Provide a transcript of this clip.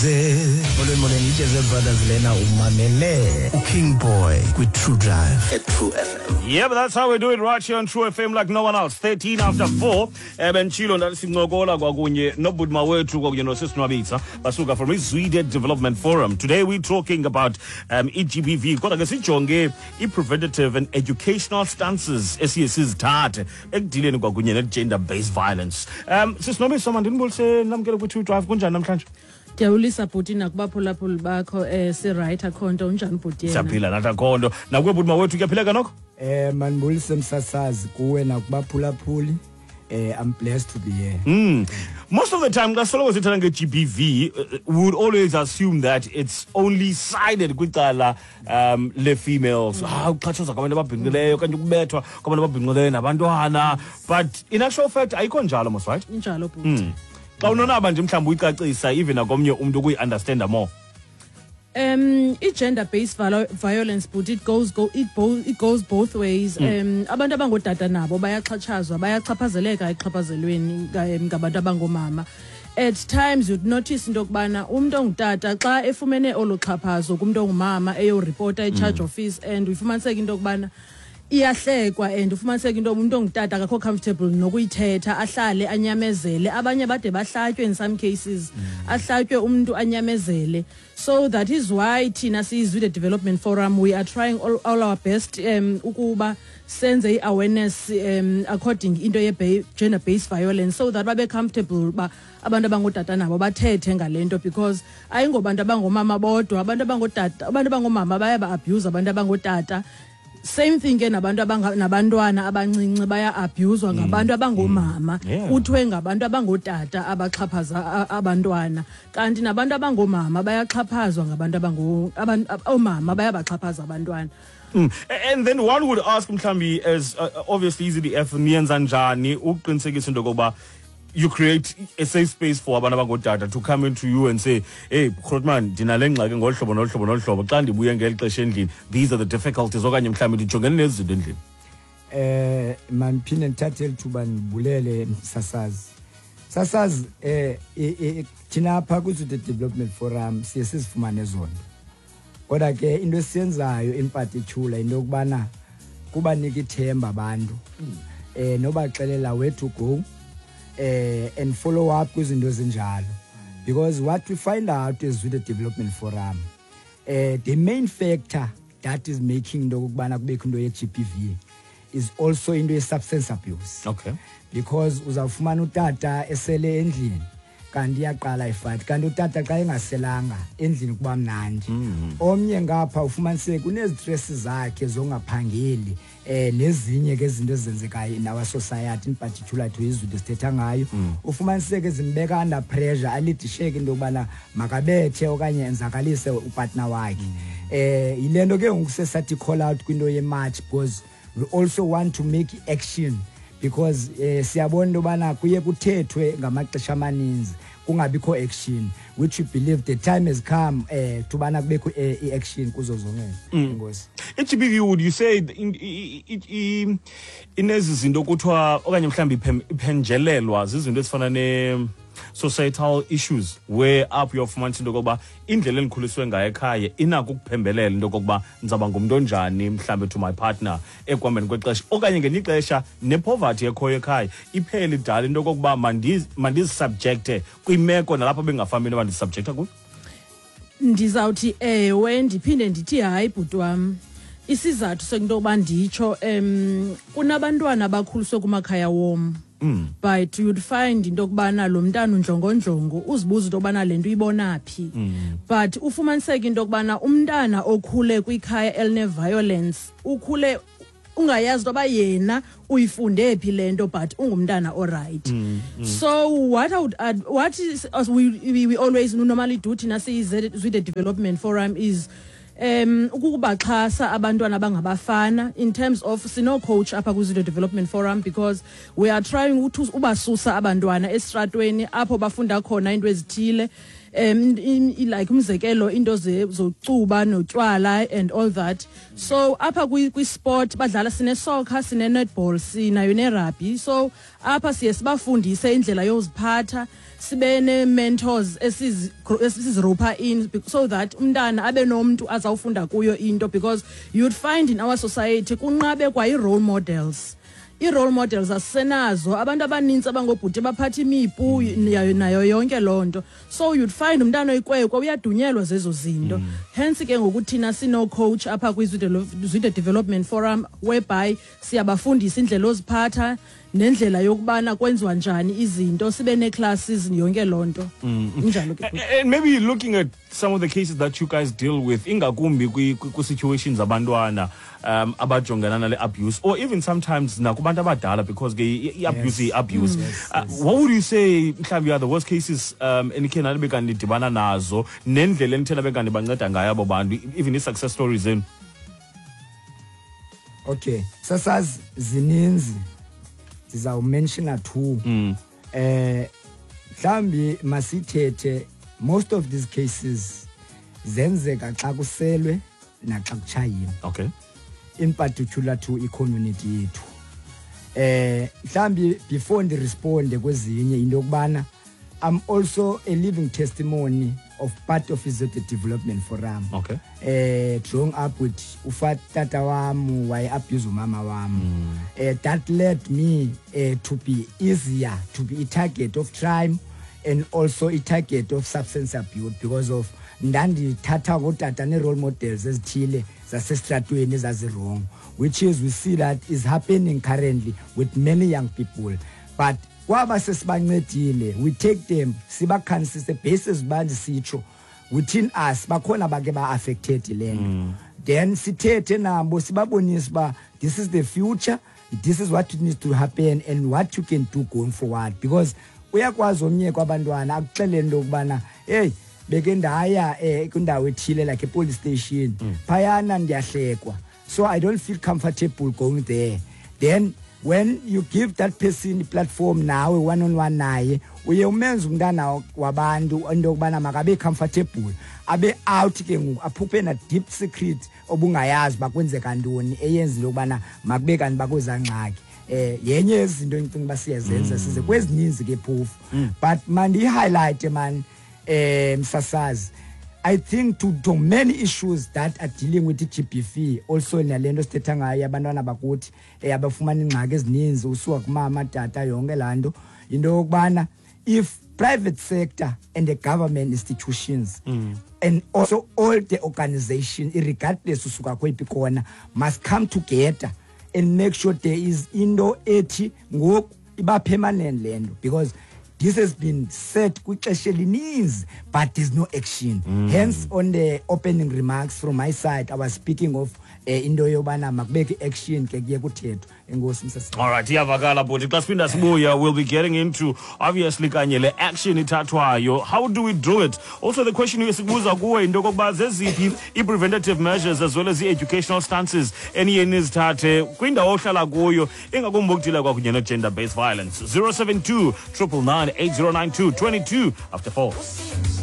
Ndize. Molweni, molweni, iJazz Brothers lena, umamele uKing Boy kwi-True Drive at True FM. Yeah, but that's how we do it right here on True FM like no one else. 13 after 4. Bentshilo ndathi sincokola kwakunye nobudma wethu kwakunye nosisi Nwabitsa basuka from iZwide Development Forum. Today we're talking about i-GBV. Kodwa ke sijonge i-preventative and educational stances esiye sizithathe ekudileni kwakunye ne-gender based violence. Sisi Nwabitsa, mandinibulise, namkele kwi-True Drive. Kunjani namhlanje? Ndiyabulisa bhuti nakubaphulaphuli bakho. Si-right, akho nto. Unjani bhuti yena? Siyaphila nathi, akho nto. Nakuwe bhuti mawethu, kuyaphileka nokho? Manibulise msasazi, kuwe nakubaphulaphuli. I'm blessed to be here. Most of the time, xa soloko sithetha nge-GBV, we would always assume that it's only sided kwicala le-females. Ah, ukuxhatshazwa kwabantu ababhinqileyo okanye ukubethwa kwabantu ababhinqileyo nabantwana. But in actual fact, ayikho njalo mos, right? Injalo bhuti. Xa unonaba nje mhlawumbi uyicacisa even nakomnye umntu ukuyi-understanda more. I-gender based violence but it goes go it both it goes both ways. Abantu abangootata nabo bayaxhatshazwa, bayachaphazeleka exhaphazelweni ngabantu abangomama. At times you'd notice into yokubana umntu ongutata xa efumene olu xhaphazo kumntu ongumama, eyoripota e-charge office and ufumaniseke into yokubana iyahlekwa and ufumaniseke into yoba umntu ongutata akakho comfortable nokuyithetha, ahlale anyamezele. Abanye bade bahlatywe in some cases, ahlatywe umntu anyamezele. So that is why thina siyiZwide Development Forum, we are trying all our best ukuba senze i-awareness according into ye-gender based violence so that babe comfortable uba abantu abangootata nabo bathethe ngale nto, because ayingobantu abangomama bodwa. Abantu abangootata, abantu abangomama bayaba-abuse abantu abangootata. Same thing ke nabantu nabantwana abancinci baya-abuzwa ngabantu abangomama. Kuthiwe ngabantu abangootata abaxhaphaza abantwana, kanti nabantu abangomama bayaxhaphazwa ngabantu oomama bayabaxhaphaza abantwana. And then one would ask mhlambi, as obviously iZDF, niyenza njani ukuqinisekisa into yokokuba you create a safe space for abantu abangootata to come into you and say, "Hey grootman, ndinale ngxaki ngolu hlobo nolu hlobo nolu hlobo. Xa ndibuye ngeli xesha endlini, these are the difficulties," okanye mhlawumbi ndijongene nezi zinto endlini? Mandiphinde ndithathe eli thuba ndibulele msasazi. Msasazi, thina apha kwiZwide Development Forum siye sizifumane zonto. Kodwa ke into esiyenzayo in particular into yokubana kubanika ithemba abantu. Nobaxelela where to go and follow up kwizinto ezinjalo. Because what we find out is with the Development Forum, the main factor that is making into yokubana kubekho into ye-GBV is also into ye-substance abuse. Because uzawufumana utata esele endlini, kanti iyaqala ifight, kanti utata xa engaselanga endlini kuba mnandi. Omnye ngapha ufumaniseke kunezistress zakhe zongaphangeli, nezinye ke izinto ezenzekayo in our society, in particular to izinto esithetha ngayo, ufumaniseke zimbeka under pressure, alidisheke into yokubana makabethe okanye enzakalise upartner wakhe. Yile nto ke ngoku sesathi call out kwinto ye-march, because we also want to make action, because siyabona into yobana kuye kuthethwe ngamaxesha amaninzi kungabikho action, which we believe the time has come to bana kubekho i-action kuzo zonke. Enkosi. I-GBV, would you say inezi zinto kuthiwa okanye mhlawumbi iphenjelelwa zizinto ezifana ne societal issues, where apho uyofumanisa into yokokuba indlela endikhuliswe ngayo ekhaya inako ukuphembelela into yokokuba ndizawuba ngumntu onjani mhlawumbi to my partner ekuhambeni kwexesha, okanye ngelinye ixesha nepoverty ekhoyo ekhaya iphele idala into yokokuba mandizisubjecte kwimeko nalapho bengafambi into yoba ndisubjecta kuyo? Ndizawuthi ewe, ndiphinde ndithi hayi bhuti wam. Isizathu sento yoba nditsho, kunabantwana abakhuliswe kumakhaya wom, but you'd find into yokubana lo mntana undlongondlongo, uzibuza into yokubana le nto uyibona phi, but ufumaniseke into yokubana umntana okhule kwikhaya eline-violence ukhule ungayazi into yoba yena uyifunde phi le nto, but ungumntana oright. So what I would add, what is, as we always normally do thina siyiZwide Development Forum, is ukubaxhasa abantwana abangabafana in terms of sino coach apha kwiZwide Development Forum, because we are trying ukuthi ubasusa abantwana esitratweni apho bafunda khona into ezithile. Like umzekelo, into zocuba notywala and all that. So apha kwi-sport badlala, sine-soccer, sine-netball, sinayo ne-rugby. So apha siye sibafundise indlela yoziphatha, sibe nee-mentors esiziropa in so that umntana abe nomntu azawufunda kuyo into, because you'd find in our society kunqabe kwa ii-role models. Ii-role models asisenazo. Abantu abanintsi abangobhuti baphatha imipu nayo yonke loo nto. So you'd find umntana oyikwekwe uyadunyelwa zezo zinto. Hence ke ngoku thina sino-coach apha kwiZwide Development Forum, whereby siyabafundisa indlela oziphatha nendlela yokubana kwenziwa njani izinto, sibe nee-classes, yonke loo nto injalo ke. And maybe looking at some of the cases that you guys deal with, ingakumbi kwi-situations abantwana abajongana nale abuse, or even sometimes nakubantu abadala, because ke i-abuse i-abuse. What would you say mhlawumbi are the worst cases enikhe nanibe kanti nidibana nazo, nendlela enithe nabe kanti banceda ngayo abo bantu, even ii-success stories zenu? Okay, sasazi, zininzi, sizawumentiona two. Mhlambi masithethe, most of these cases zenzeka xa kuselwe naxa kutshayiwe, in particular to i-community yethu. Mhlambi before ndiresponde kwezinye, into yokubana I'm also a living testimony of part of iZwide Development Forum. Growing up with ufatata wam waye abuse umama wam, that led me to be easier to be a target of crime and also a target of substance abuse, because of ndandithatha ngotata nee-role models ezithile zasestratweni ezazi-wrong, which is we see that is happening currently with many young people. But kwaba sesibancedile, we take them, sibakhansise basis uba ndisitsho within us bakhona bake ba-affected le nto. Then sithethe nabo, sibabonise uba this is the future, this is what needs to happen and what you can do going forward, because uyakwazi omnye kwabantwana akuxelele into yokubana, "Hey, beke ndaya kwindawo ethile, like e-police station phayana, ndiyahlekwa, so I don't feel comfortable going there." Then when you give that person i-platform nawe one on one naye, uye umenze umntana wabantu into yokubana makabe comfortable, abe out ke ngoku, aphuphe na deep secret obungayazi uba kwenzeka ntoni eyenza into yokubana makube kanti bakwezaa ngxaki. Yenye yezinto endicinga uba siyazenza size kwezininzi ke phofu, but mandiyi-highlight man, msasazi, I think to many issues that are dealing with i-GBV, also nale nto sithetha ngayo, abantwana bakuthi abafumana iingxaki ezininzi usuka kumama, tata, yonke laa nto, into yokubana if private sector and the government institutions and also all the organization, irregardless usuka kweyiphi kona, must come together and make sure there is into ethi ngoku iba permanent le nto, because this has been said kwixesha elininzi but there's no action. Hence on the opening remarks from my side, I was speaking of into yobana makubekho i-action ke, kuye kuthethwa. Enkosi, msasa. All right, iyavakala bhuti. Xa siphinda sibuya, we'll be getting into obviously kanye le action ithathwayo. How do we do it? Also the question esikubuza kuwe into yokokuba zeziphi i-preventative measures as well as i-educational stances eniye nizithathe kwindawo ohlala kuyo, ingakumbi ukudila kwakunye no-gender based violence. 072 999 8092, 22 after 4.